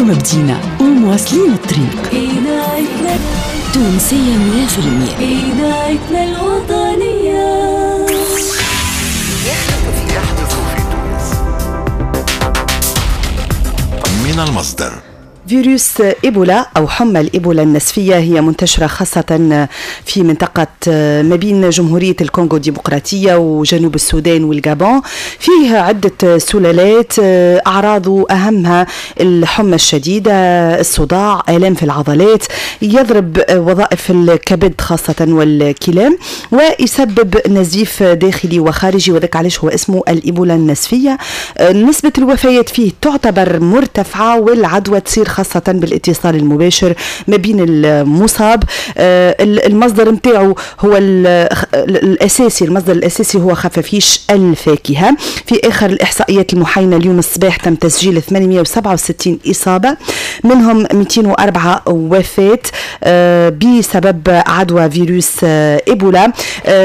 معاكم بدينا ومواصلين الطريق. إذاعتنا تونسية 100%. إذاعتنا الوطنية. يحدث في تونس من المصدر. فيروس إيبولا أو حمى الإيبولا النسفية هي منتشرة خاصة في منطقة ما بين جمهورية الكونغو الديمقراطية وجنوب السودان والجابون. فيه عدة سلالات، أعراضه أهمها الحمى الشديدة، الصداع، آلام في العضلات، يضرب وظائف الكبد خاصة والكلى، ويسبب نزيف داخلي وخارجي، وذاك علاش هو اسمه الإيبولا النسفية. نسبة الوفيات فيه تعتبر مرتفعة، والعدوى تصير خاصة بالاتصال المباشر ما بين المصاب. المصدر متاعه هو الأساسي، المصدر الأساسي هو خفافيش الفاكهة. في آخر الإحصائيات المحينة اليوم الصباح تم تسجيل 867 إصابة، منهم 204 وفاة بسبب عدوى فيروس إيبولا.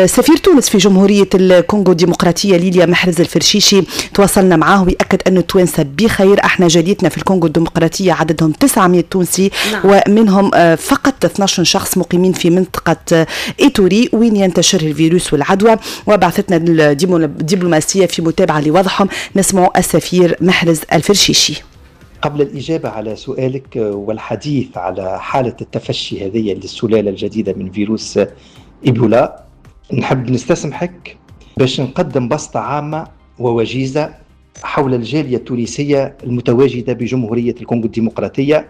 سفير تونس في جمهورية الكونغو الديمقراطية ليليا محرز الفرشيشي تواصلنا معاه ويأكد أن التوانسة بخير. احنا جاليتنا في الكونغو الديمقراطية عددهم 900 تونسي، نعم. ومنهم فقط 12 شخص مقيمين في منطقة إيتوري وين ينتشر الفيروس والعدوى. وبعثتنا الدبلوماسية في متابعة لوضعهم. نسمع السفير محرز الفرشيشي. قبل الإجابة على سؤالك والحديث على حالة التفشي هذه للسلالة الجديدة من فيروس إيبولا، نحب نستسمحك باش نقدم بسطة عامة ووجيزة حول الجالية التونسية المتواجدة بجمهورية الكونغو الديمقراطية،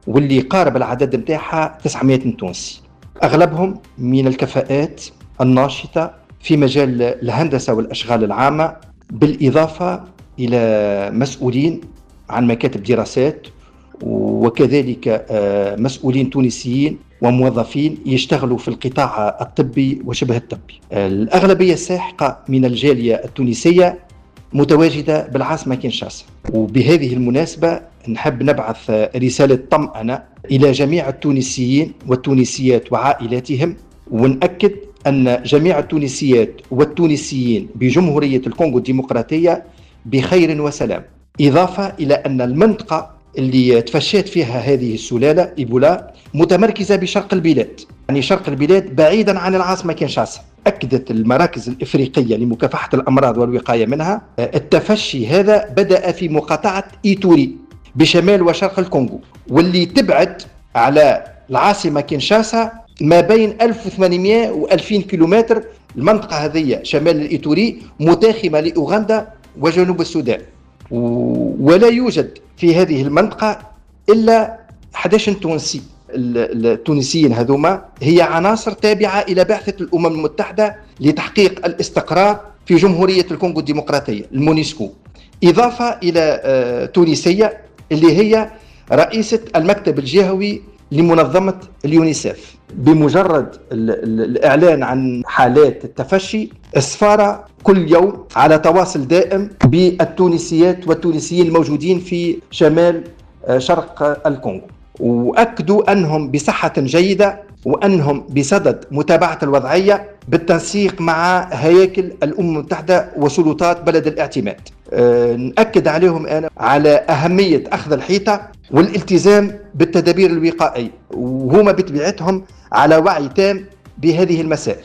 واللي قارب العدد متاعها 900 تونسي، أغلبهم من الكفاءات الناشطة في مجال الهندسة والأشغال العامة، بالإضافة إلى مسؤولين عن مكاتب دراسات، وكذلك مسؤولين تونسيين وموظفين يشتغلوا في القطاع الطبي وشبه الطبي. الأغلبية الساحقة من الجالية التونسية متواجدة بالعاصمة كينشاسا، وبهذه المناسبة نحب نبعث رسالة طمأنة إلى جميع التونسيين والتونسيات وعائلاتهم، ونأكد أن جميع التونسيات والتونسيين بجمهورية الكونغو الديمقراطية بخير وسلام. إضافة إلى أن المنطقة اللي تفشت فيها هذه السلالة إيبولا متمركزة بشرق البلاد، يعني شرق البلاد بعيدا عن العاصمة كينشاسا. أكدت المراكز الإفريقية لمكافحة الأمراض والوقاية منها التفشي هذا بدأ في مقاطعة إيتوري بشمال وشرق الكونغو، واللي تبعد على العاصمة كينشاسا ما بين 1800 و 2000 كيلومتر. المنطقة هذه شمال الإيتوري متاخمة لأوغندا وجنوب السودان، ولا يوجد في هذه المنطقة إلا 11 تونسي. التونسيين هذوما هي عناصر تابعة إلى بعثة الأمم المتحدة لتحقيق الاستقرار في جمهورية الكونغو الديمقراطية المونسكو، إضافة إلى تونسية اللي هي رئيسة المكتب الجهوي لمنظمة اليونيسف. بمجرد الإعلان عن حالات التفشي، السفارة كل يوم على تواصل دائم بالتونسيات والتونسيين الموجودين في شمال شرق الكونغو، وأكدوا أنهم بصحة جيدة وأنهم بصدد متابعة الوضعية بالتنسيق مع هياكل الأمم المتحدة وسلطات بلد الاعتماد. نأكد عليهم أنا على أهمية أخذ الحيطة والالتزام بالتدابير الوقائية، وهما بطبيعتهم على وعي تام بهذه المسائل.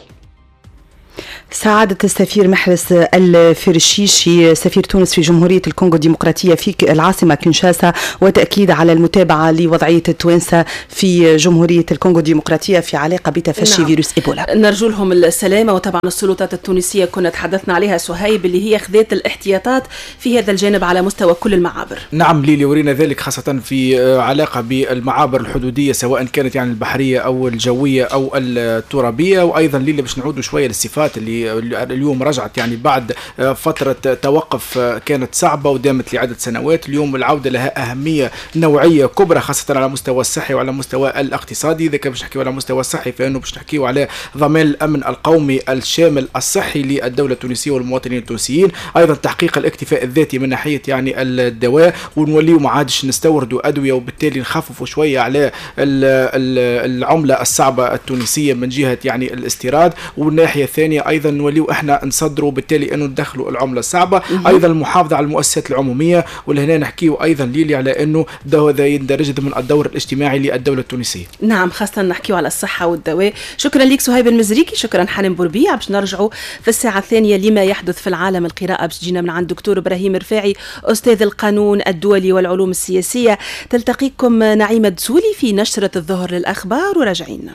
سعادة السفير محرز الفرشيشي سفير تونس في جمهورية الكونغو الديمقراطية في العاصمة كينشاسا، وتأكيد على المتابعة لوضعية التوانسة في جمهورية الكونغو الديمقراطية في علاقة بتفشي نعم. فيروس إيبولا. نرجو لهم السلامة. وطبعا السلطات التونسية كنا تحدثنا عليها سهيب اللي هي خذت الاحتياطات في هذا الجانب على مستوى كل المعابر. نعم ليلي، ورينا ذلك خاصة في علاقة بالمعابر الحدودية سواء كانت يعني البحرية أو الجوية أو الترابية. وأيضا ليلي باش نعودوا شوية للصفات اللي اليوم رجعت يعني بعد فترة توقف كانت صعبة ودامت لعدة سنوات. اليوم العودة لها أهمية نوعية كبرى خاصة على مستوى الصحي وعلى مستوى الاقتصادي. إذا كان باش نحكيو على مستوى الصحي فإنه باش نحكيو على ضمان الأمن القومي الشامل الصحي للدولة التونسية والمواطنين التونسيين، أيضا تحقيق الاكتفاء الذاتي من ناحية يعني الدواء، ونوليو ما عادش نستوردوا أدوية وبالتالي نخففوا شوية على العملة الصعبة التونسية من جهة يعني الاستيراد. والناحية الثانية أيضا ايضا نوليو احنا نصدروا، بالتالي انه ندخلوا العملة الصعبة. ايضا المحافظة على المؤسسات العمومية، ولهنا نحكيو ايضا ليلي على انه هذا يندرج ضمن الدور الاجتماعي للدولة التونسية. نعم، خاصة نحكيو على الصحة والدواء. شكرا لك سهيب المزريكي، شكرا حنان بوربيع. باش نرجعوا في الساعة الثانية لما يحدث في العالم، القراءة باش تجينا من عند دكتور ابراهيم رفاعي استاذ القانون الدولي والعلوم السياسية. تلتقيكم نعيمه دسولي في نشره الظهر للاخبار وراجعين.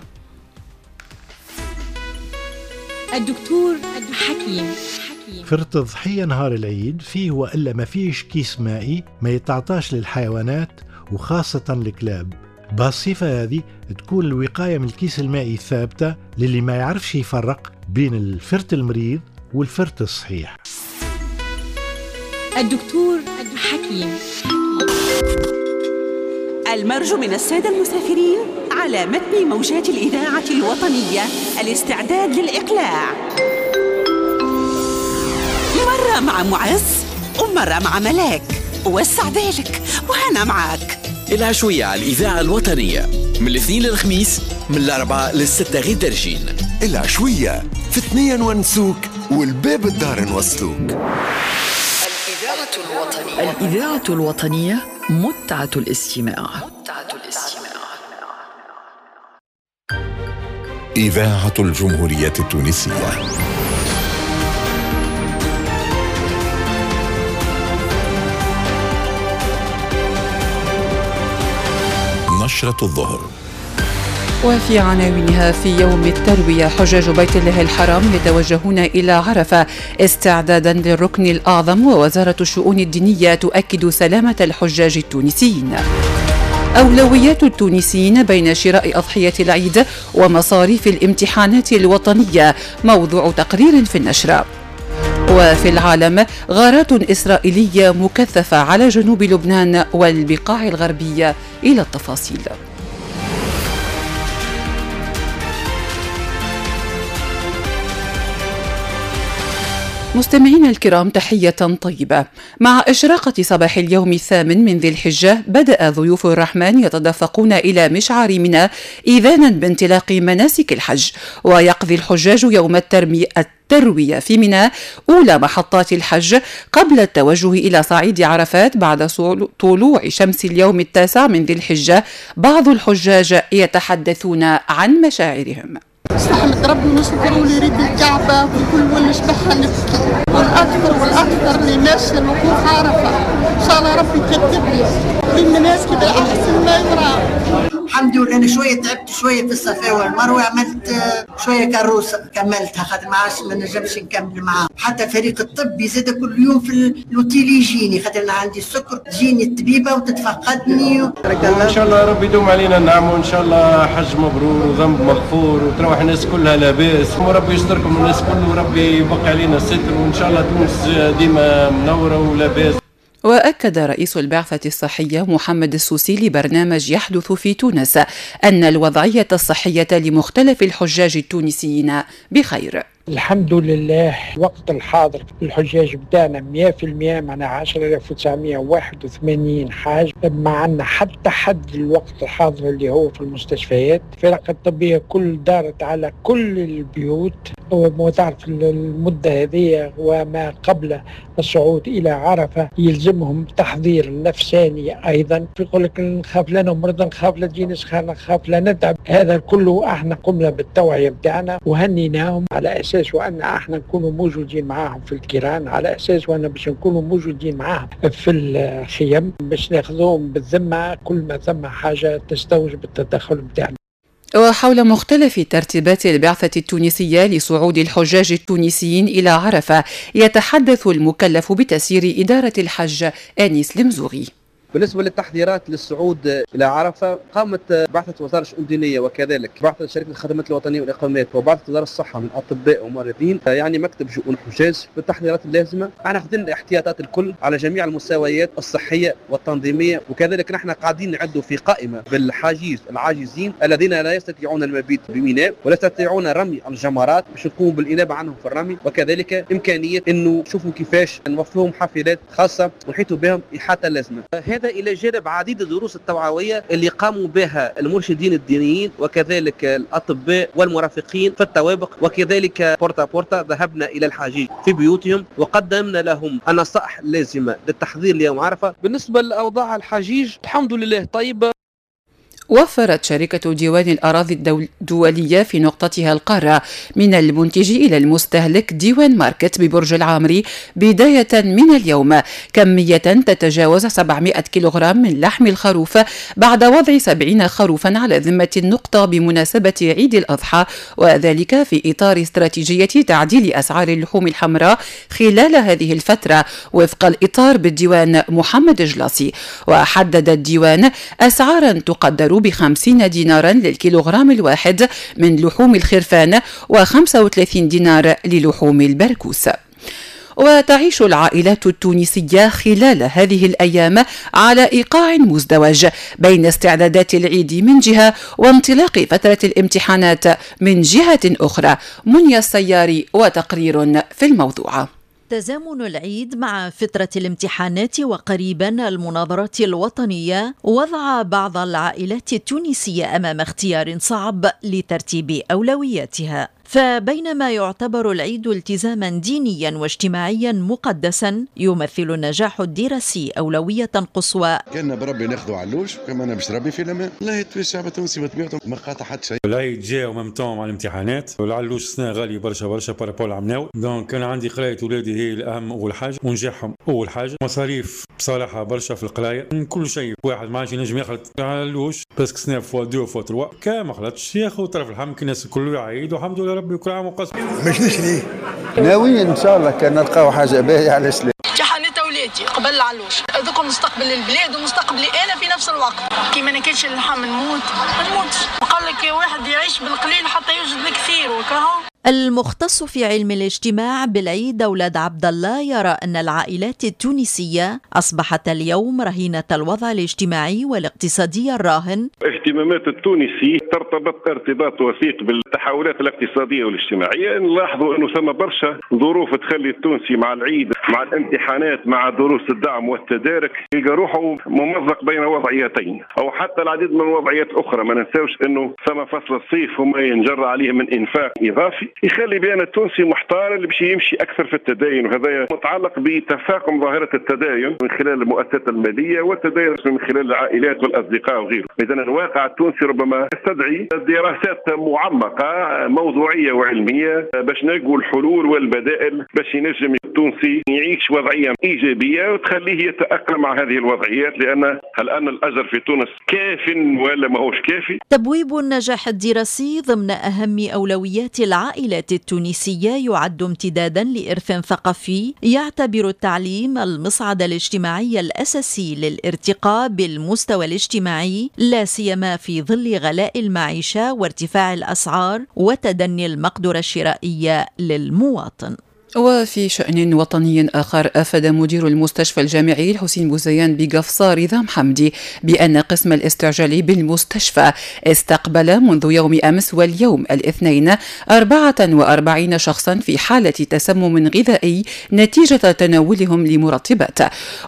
الدكتور حكيم. فرت الضحية نهار العيد فيه وإلا ما فيش كيس مائي ما يتعطاش للحيوانات وخاصة الكلاب. بهالصفة هذه تكون الوقاية من الكيس المائي ثابتة للي ما يعرفش يفرق بين الفرت المريض والفرت الصحيح. الدكتور حكيم. المرجو من السادة المسافرين على متن موجات الإذاعة الوطنية الاستعداد للإقلاع. مرة مع معز ومرة مع ملاك، وسع بالك وأنا معاك. العشوية على الإذاعة الوطنية من الاثنين للخميس من 4 ل6 غير درجين. العشوية في 2 ونسوك والباب الدار نوصلوك. الإذاعة الوطنية متعة الاستماع. إذاعة الجمهورية التونسية. نشرة الظهر. وفي عناوينها: في يوم التروية حجاج بيت الله الحرام يتوجهون إلى عرفة استعدادا للركن الأعظم، ووزارة الشؤون الدينية تؤكد سلامة الحجاج التونسيين. أولويات التونسيين بين شراء أضحية العيد ومصاريف الامتحانات الوطنية، موضوع تقرير في النشرة. وفي العالم غارات إسرائيلية مكثفة على جنوب لبنان والبقاع الغربية. إلى التفاصيل. مستمعينا الكرام، تحية طيبة. مع إشراقة صباح اليوم الثامن من ذي الحجة بدأ ضيوف الرحمن يتدفقون إلى مشعر منى إذانا بانطلاق مناسك الحج، ويقضي الحجاج يوم التروية في منى أولى محطات الحج قبل التوجه إلى صعيد عرفات بعد طلوع شمس اليوم التاسع من ذي الحجة. بعض الحجاج يتحدثون عن مشاعرهم. نحمد ربي ونشكره واللي يريد الكعبة وكل واللي شبحها نبكي، والأكثر والأكثر اللي ماشي الوقوف عرفة، إن شاء الله ربي يكتب لي بالمناسك بالأحسن ما يرام. الحمد لله أنا شوية تعبت شوية في الصفا والمروة، عملت شوية كروسة كملتها خاطر ما عادش ما نجمش نكمل معاهم. حتى الفريق الطبي زاد كل يوم في l'hôtel يجيني خاطر أنا عندي السكر، تجيني الطبيبة وتتفقدني. إن شاء الله ربي يدوم علينا النعم، وإن شاء الله حج مبرور وذنب مغفور وتروح الناس كلها لاباس، وربي يستركم الناس كله وربي يبقي علينا الستر، وإن شاء الله تونس ديما منورة ولاباس. وأكد رئيس البعثة الصحية محمد السوسي لبرنامج يحدث في تونس أن الوضعية الصحية لمختلف الحجاج التونسيين بخير. الحمد لله وقت الحاضر الحجاج بتاعنا 100%، معنا 10981 حاج، ما عندنا حتى حد الوقت الحاضر اللي هو في المستشفيات. الفرق الطبية كل دارت على كل البيوت، وتعرف المدة هذه وما قبل الصعود إلى عرفة يلزمهم تحضير نفساني أيضا. يقول لك نخاف لا نمرض، نخاف لا تجينا سخانة، نخاف لا نتعب. هذا كله احنا قمنا بالتوعية بتاعنا وهنيناهم على أساس وأن احنا نكونوا موجودين معاهم في الكيران، على أساس وأن باش نكونوا موجودين معاهم في الخيم باش ناخذوهم بالذمة كل ما ثم حاجة تستوجب التدخل بتاعنا. وحول مختلف ترتيبات البعثة التونسية لصعود الحجاج التونسيين إلى عرفة يتحدث المكلف بتسيير إدارة الحج أنيس المزوغي. بالنسبة للتحضيرات للصعود إلى عرفة، قامت بعثة وزارة الشؤون الدينية وكذلك بعثة شركة الخدمات الوطنية والإقامات وبعثة وزارة الصحة من أطباء وممرضين، يعني مكتب شؤون الحجاج، بالتحضيرات اللازمة. احنا أخذنا الاحتياطات الكل على جميع المستويات الصحية والتنظيمية، وكذلك نحن قاعدين نعدوا في قائمة بالحاجيز العاجزين الذين لا يستطيعون المبيت بميناء ولا يستطيعون رمي الجمرات باش نقوم بالإنابة عنهم في الرمي، وكذلك إمكانية إنه نشوفوا كيفاش نوفرهم حافلات خاصة ونحيطوا بهم إحاطة لازمة. هذا إلى جانب عديد الدروس التوعوية اللي قاموا بها المرشدين الدينيين وكذلك الأطباء والمرافقين في الطوابق، وكذلك porte à porte ذهبنا إلى الحجيج في بيوتهم وقدمنا لهم النصائح اللازمة للتحضير ليوم عرفة. بالنسبة لأوضاع الحجيج الحمد لله طيبة. وفرت شركة ديوان الأراضي الدولية في نقطتها القارة من المنتج إلى المستهلك ديوان ماركت ببرج العامري بداية من اليوم كمية تتجاوز 700 كيلوغرام من لحم الخروف بعد وضع 70 خروفا على ذمة النقطة بمناسبة عيد الأضحى، وذلك في إطار استراتيجية تعديل أسعار اللحوم الحمراء خلال هذه الفترة وفق الإطار بالديوان محمد جلاصي. وحدد الديوان أسعارا تقدر ب50 دينارا للكيلوغرام الواحد من لحوم الخرفان و35 دينار للحوم البركوس. وتعيش العائلات التونسية خلال هذه الأيام على إيقاع مزدوج بين استعدادات العيد من جهة وانطلاق فترة الامتحانات من جهة أخرى. منيا السياري وتقرير في الموضوع. تزامن العيد مع فترة الامتحانات وقريبا المناظرات الوطنية وضع بعض العائلات التونسية أمام اختيار صعب لترتيب أولوياتها. فبينما يعتبر العيد التزاما دينيا واجتماعيا مقدسا، يمثل النجاح الدراسي أولوية قصوى. كنا بربي ناخذوا علوش كما انا باش ربي في الامان. لا الشعب التونسي بطبيعته ما قاطع حتى شيء. العيد جاء و même temps مع الامتحانات، والعلوش سنة غالي برشا برشا par rapport عمناو، donc كان عندي قرايه ولادي هي الاهم اول حاجة ونجاحهم اول حاجة. مصاريف بصراحة برشا في القراية، كل شيء واحد ما عادش ينجم يخلط علوش parce que سنة fois deux fois trois كان ما خلطش ياخذ طرف الحم كي الناس الكل يعيد والحمد لله ربي كل عام وقص. مش نشري ناويين ان شاء الله كان نلقاو حاجة باهيه. علاش لا؟ امتحانات اولادي قبل العلوش هذوك مستقبل البلاد ومستقبلي انا في نفس الوقت. كي ما ناكلش اللحم نموت ما نموتش. قال لك واحد يعيش بالقليل حتى يوجد الكثير وكهو. المختص في علم الاجتماع بالعيد أولاد عبد الله يرى أن العائلات التونسية أصبحت اليوم رهينة الوضع الاجتماعي والاقتصادي الراهن. اهتمامات التونسي ترتبط ارتباط وثيق بالتحولات الاقتصادية والاجتماعية. نلاحظوا أنه ثم برشا ظروف تخلي التونسي مع العيد مع الامتحانات مع دروس الدعم والتدارك يلقى روحه ممزق بين وضعيتين أو حتى العديد من الوضعيات الأخرى. ما ننساوش أنه ثم فصل الصيف وما ينجر عليه من إنفاق إضافي يخلي بأن التونسي محتار اللي باش يمشي أكثر في التدين، وهذا متعلق بتفاقم ظاهرة التداين من خلال المؤسسات المالية والتداين من خلال العائلات والأصدقاء وغيره. إذن الواقع التونسي ربما يستدعي دراسات معمقة موضوعية وعلمية باش نلقوا الحلول والبدائل باش ينجم التونسي يعيش وضعية إيجابية وتخليه يتأقلم مع هذه الوضعيات، لأن هل أن الأجر في تونس كاف ولا ماهوش كافي؟ تبويب النجاح الدراسي ضمن أهم أولويات العائلات التونسية يعد امتدادا لإرث ثقافي يعتبر التعليم المصعد الاجتماعي الأساسي للارتقاء بالمستوى الاجتماعي، لا سيما في ظل غلاء المعيشة وارتفاع الأسعار وتدني المقدرة الشرائية للمواطن. وفي شأن وطني آخر، أفاد مدير المستشفى الجامعي الحسين بوزيان بقفصة رضا محمدي بأن قسم الاستعجالي بالمستشفى استقبل منذ يوم أمس واليوم الاثنين 44 شخصا في حالة تسمم غذائي نتيجة تناولهم لمرطبات.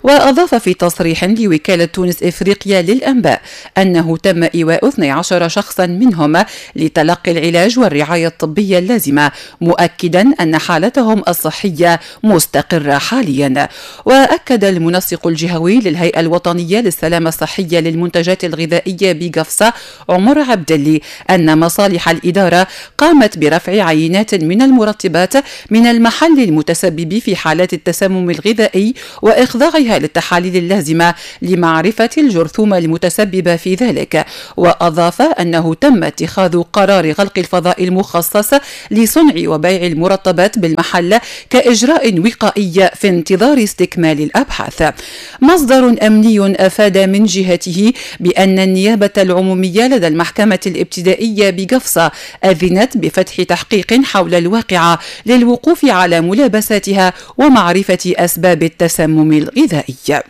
وأضاف في تصريح لوكالة تونس إفريقيا للأنباء أنه تم إيواء 12 شخصا منهم لتلقي العلاج والرعاية الطبية اللازمة، مؤكدا أن حالتهم الصحية مستقرة حاليا. وأكد المنسق الجهوي للهيئة الوطنية للسلامة الصحية للمنتجات الغذائية بقفصة عمر عبدلي أن مصالح الإدارة قامت برفع عينات من المرطبات من المحل المتسبب في حالات التسمم الغذائي وإخضاعها للتحاليل اللازمة لمعرفة الجرثومة المتسببة في ذلك. وأضاف أنه تم اتخاذ قرار غلق الفضاء المخصص لصنع وبيع المرطبات بالمحل كإجراء وقائي في انتظار استكمال الأبحاث. مصدر أمني أفاد من جهته بأن النيابة العمومية لدى المحكمة الابتدائية بقفصة أذنت بفتح تحقيق حول الواقعة للوقوف على ملابساتها ومعرفة أسباب التسمم الغذائي.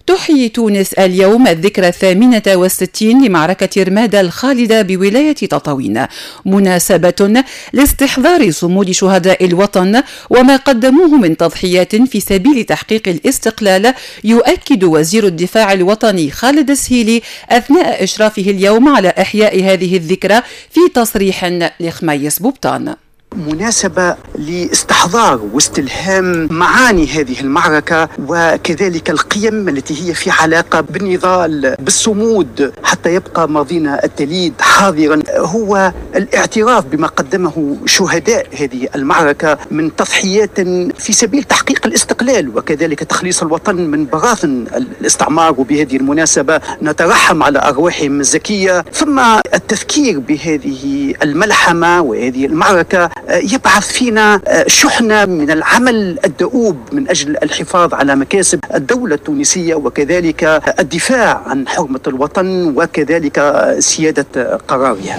تحيي تونس اليوم الذكرى 68 لمعركة رمادة الخالدة بولاية تطاوين، مناسبة لاستحضار صمود شهداء الوطن وما قدموه من تضحيات في سبيل تحقيق الاستقلال، يؤكد وزير الدفاع الوطني خالد السهيلي أثناء إشرافه اليوم على إحياء هذه الذكرى في تصريح لخميس بوبطان. مناسبة لاستحضار واستلهام معاني هذه المعركة وكذلك القيم التي هي في علاقة بالنضال بالصمود حتى يبقى ماضينا التليد حاضرا، هو الاعتراف بما قدمه شهداء هذه المعركة من تضحيات في سبيل تحقيق الاستقلال وكذلك تخليص الوطن من براثن الاستعمار. وبهذه المناسبة نترحم على أرواحهم الزكية، ثم التذكير بهذه الملحمة وهذه المعركة يبعث فينا شحنة من العمل الدؤوب من أجل الحفاظ على مكاسب الدولة التونسية وكذلك الدفاع عن حرمة الوطن وكذلك سيادة قرارها.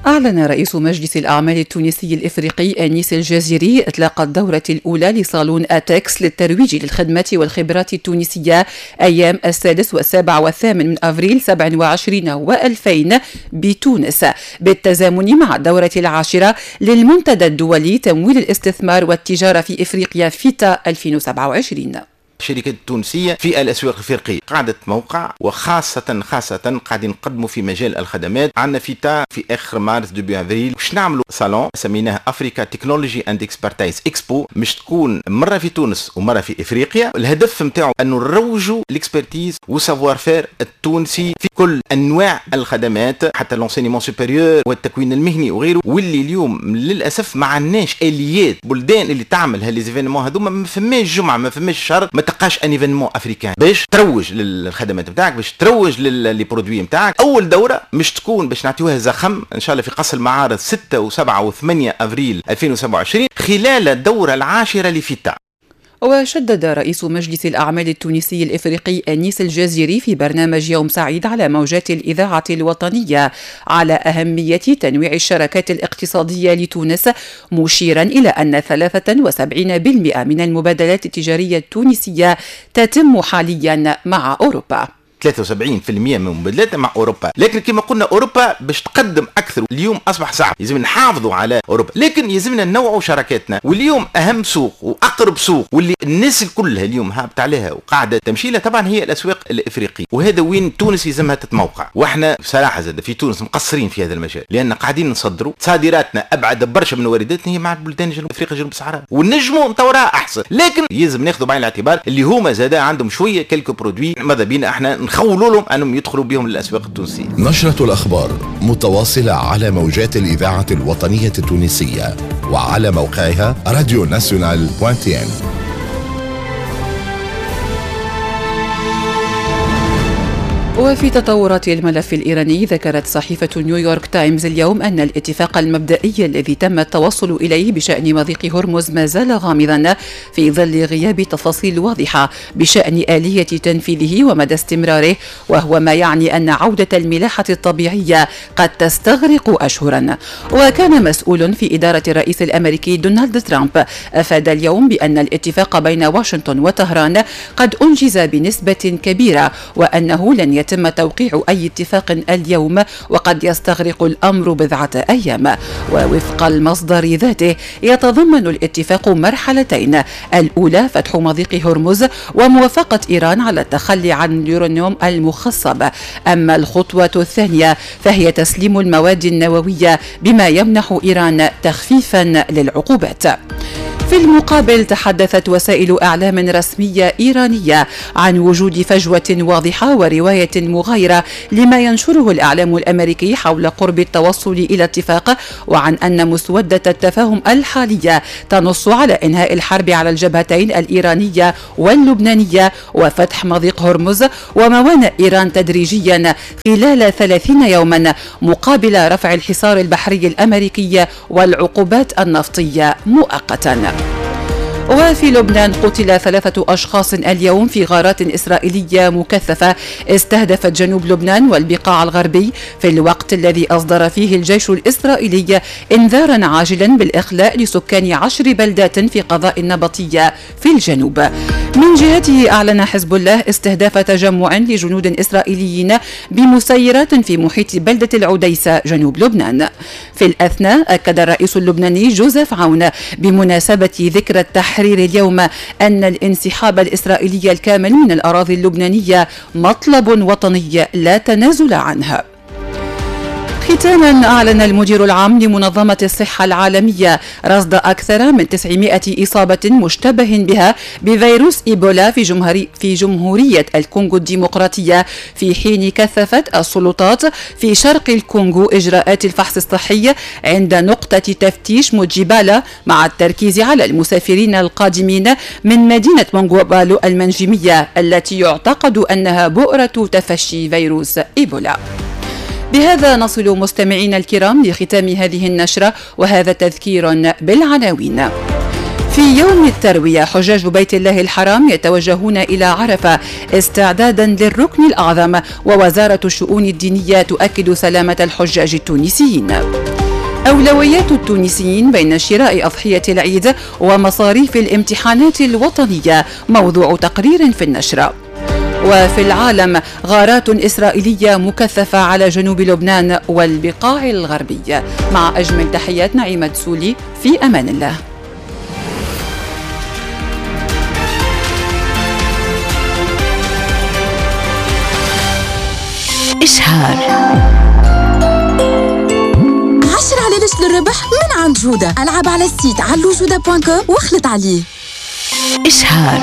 أعلن رئيس مجلس الأعمال التونسي الإفريقي أنيس الجزيري إطلاق الدورة الأولى لصالون أتكس للترويج للخدمات والخبرات التونسية أيام 6 و7 و8 من أفريل 27 و2000 بتونس، بالتزامن مع الدورة العاشرة للمنتدى الدولي تمويل الاستثمار والتجارة في إفريقيا فيتا 2027. الشركات التونسية في الأسواق الإفريقية قاعدة موقع، وخاصة خاصة قاعدين نقدموا في مجال الخدمات. عندنا فيتا في آخر مارس début avril باش نعملوا صالون سميناه Africa Technology and Expertise Expo، مش تكون مرة في تونس ومرة في إفريقيا. الهدف نتاعو أنه نروجوا ال expertise و savoir-faire التونسي في كل أنواع الخدمات، حتى l'enseignement supérieur والتكوين المهني وغيره، واللي اليوم للأسف ما عندناش آليات. بلدان اللي تعمل ها les événements هذوما ما فماش جمعة ما فماش شهر ما تلقاش un événement africain باش تروج للخدمات نتاعك، باش تروج les produits نتاعك. اول دوره مش تكون باش نعطيوها زخم ان شاء الله في قصر المعارض 6 و7 و8 افريل 2027 خلال الدورة العاشرة لفيتا. وشدد رئيس مجلس الأعمال التونسي الإفريقي أنيس الجزيري في برنامج يوم سعيد على موجات الإذاعة الوطنية على أهمية تنويع الشراكات الاقتصادية لتونس، مشيرا إلى أن 73% من المبادلات التجارية التونسية تتم حاليا مع أوروبا. 73% من مبادلاتنا مع اوروبا، لكن كما قلنا اوروبا باش تقدم اكثر اليوم اصبح صعب، لازم نحافظوا على اوروبا، لكن يلزمنا ننوعوا شراكاتنا. واليوم اهم سوق واقرب سوق واللي الناس كلها اليوم هابط عليها وقاعدة تمشي لها طبعا هي الاسواق الافريقية، وهذا وين تونس يلزمها تتموقع. واحنا بصراحة زاد في تونس مقصرين في هذا المجال، لان قاعدين نصدروا صادراتنا ابعد برشا من وارداتنا هي مع بلدان جنوب افريقيا جنوب الصحراء، ونجموا نطورها احسن، لكن يلزم ناخذوا بعين الاعتبار اللي هما زاد عندهم شوية quelques produits ماذا بينا احنا نخولوا لهم انهم يدخلوا بهم للاسواق التونسية. نشرة الاخبار متواصلة على موجات الاذاعة الوطنية التونسية وعلى موقعها radio nationale point tn. وفي تطورات الملف الإيراني، ذكرت صحيفة نيويورك تايمز اليوم أن الاتفاق المبدئي الذي تم التوصل إليه بشأن مضيق هرمز ما زال غامضا في ظل غياب تفاصيل واضحة بشأن آلية تنفيذه ومدى استمراره، وهو ما يعني أن عودة الملاحة الطبيعية قد تستغرق أشهرا. وكان مسؤول في إدارة الرئيس الأمريكي دونالد ترامب أفاد اليوم بأن الاتفاق بين واشنطن وطهران قد أنجز بنسبة كبيرة، وأنه لن يتم توقيع أي اتفاق اليوم، وقد يستغرق الأمر بضعة أيام. ووفق المصدر ذاته يتضمن الاتفاق مرحلتين، الأولى فتح مضيق هرمز وموافقة إيران على التخلي عن اليورانيوم المخصب، أما الخطوة الثانية فهي تسليم المواد النووية بما يمنح إيران تخفيفا للعقوبات. في المقابل تحدثت وسائل إعلام رسمية إيرانية عن وجود فجوة واضحة ورواية مغايرة لما ينشره الإعلام الأمريكي حول قرب التوصل إلى اتفاق، وعن أن مسودة التفاهم الحالية تنص على إنهاء الحرب على الجبهتين الإيرانية واللبنانية وفتح مضيق هرمز وموانئ إيران تدريجيا خلال 30 يوما مقابل رفع الحصار البحري الأمريكي والعقوبات النفطية مؤقتا. وفي لبنان قتل 3 أشخاص اليوم في غارات إسرائيلية مكثفة استهدفت جنوب لبنان والبقاع الغربي، في الوقت الذي أصدر فيه الجيش الإسرائيلي إنذارا عاجلا بالإخلاء لسكان 10 بلدات في قضاء النبطية في الجنوب. من جهته أعلن حزب الله استهداف تجمع لجنود إسرائيليين بمسيرات في محيط بلدة العديسة جنوب لبنان. في الأثناء أكد الرئيس اللبناني جوزيف عون بمناسبة ذكرى التحرير اليوم أن الانسحاب الإسرائيلي الكامل من الأراضي اللبنانية مطلب وطني لا تنازل عنه. ختاما أعلن المدير العام لمنظمة الصحة العالمية رصد أكثر من 900 إصابة مشتبه بها بفيروس إيبولا في جمهورية الكونغو الديمقراطية، في حين كثفت السلطات في شرق الكونغو إجراءات الفحص الصحي عند نقطة تفتيش موجيبالا، مع التركيز على المسافرين القادمين من مدينة مونغوبالو المنجمية التي يعتقد أنها بؤرة تفشي فيروس إيبولا. بهذا نصل مستمعينا الكرام لختام هذه النشرة، وهذا تذكير بالعناوين. في يوم التروية حجاج بيت الله الحرام يتوجهون إلى عرفة استعدادا للركن الأعظم، ووزارة الشؤون الدينية تؤكد سلامة الحجاج التونسيين. أولويات التونسيين بين شراء أضحية العيد ومصاريف الامتحانات الوطنية، موضوع تقرير في النشرة. وفي العالم غارات إسرائيلية مكثفة على جنوب لبنان والبقاع الغربي. مع أجمل تحيات نعيمة سولي، في أمان الله. إشهار 10 علالش للربح من عند جودة. ألعب على ال site علوجودة.com واخلط عليه. إشهار.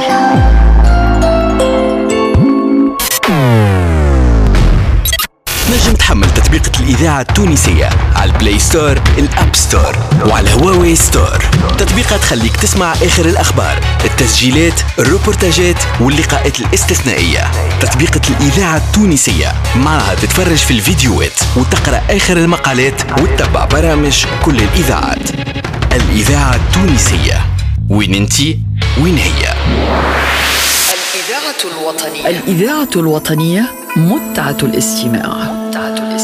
نجم تحمل تطبيقة الإذاعة التونسية على ال Play Store، ال App Store وعلى هواوي Store. تطبيقة تخليك تسمع آخر الأخبار، التسجيلات، الروبورتاجات واللقاءات الاستثنائية. تطبيقة الإذاعة التونسية معها تتفرج في الفيديوهات وتقرأ آخر المقالات وتتبع برامج كل الإذاعات. الإذاعة التونسية، وين انتي وين هي. الإذاعة الوطنية، الإذاعة الوطنية متعة الاستماع.